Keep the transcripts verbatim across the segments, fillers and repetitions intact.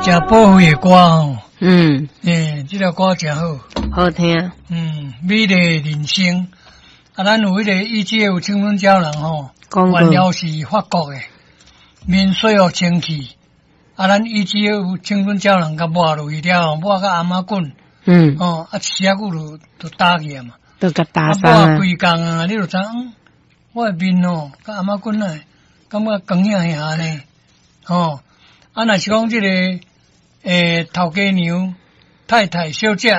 誠寶貴的歌吼。嗯。欸，這條歌誠好。好聽。嗯，美麗人生。啊，咱有彼個 E G F 青春膠囊吼，原料是法國的，面洗予清氣。啊，咱 E G F 青春膠囊共抹落去了後，抹甲餡仔滾。嗯。哦，啊，飼仔久就就焦去啊嘛。都共焦啊，抹規工啊，你就知影，我的面哦，佮餡仔滾啊，感覺光影影呢。吼，啊，若是講這個，欸，頭家娘、太太、小姐，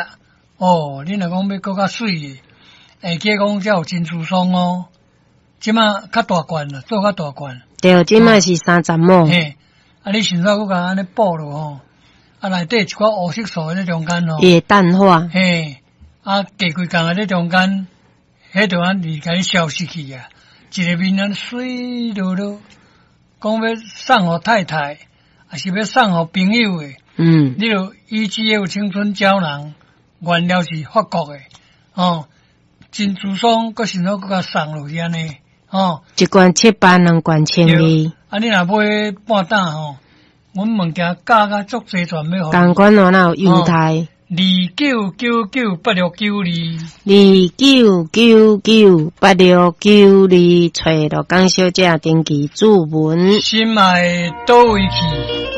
哦，你若講欲閣較媠的，會記講才有珍珠霜哦。這馬較大罐啦，做較大罐。對，這馬是三十毫。嘿，啊，你先煞閣共按呢補落吼，啊，內底一寡烏色素佇中間吼。伊會淡化。嘿，啊，過幾工啊，佇中間，彼就按呢共你消失去啊，一个面按呢媠漉漉，講欲送予太太，抑是欲送予朋友的，嗯，你就 E G F 青春膠囊，原料是法國的，哦，珍珠霜，閣先閣共送落去按呢，哦，一罐七百，兩罐千二。啊，你若買半擔吼，阮物件價格足齊全欲予。仝款哦，若有優待。二九九九八六九二，二九九九八六九二，揣鹿港小姐登記注文。心愛佗位去？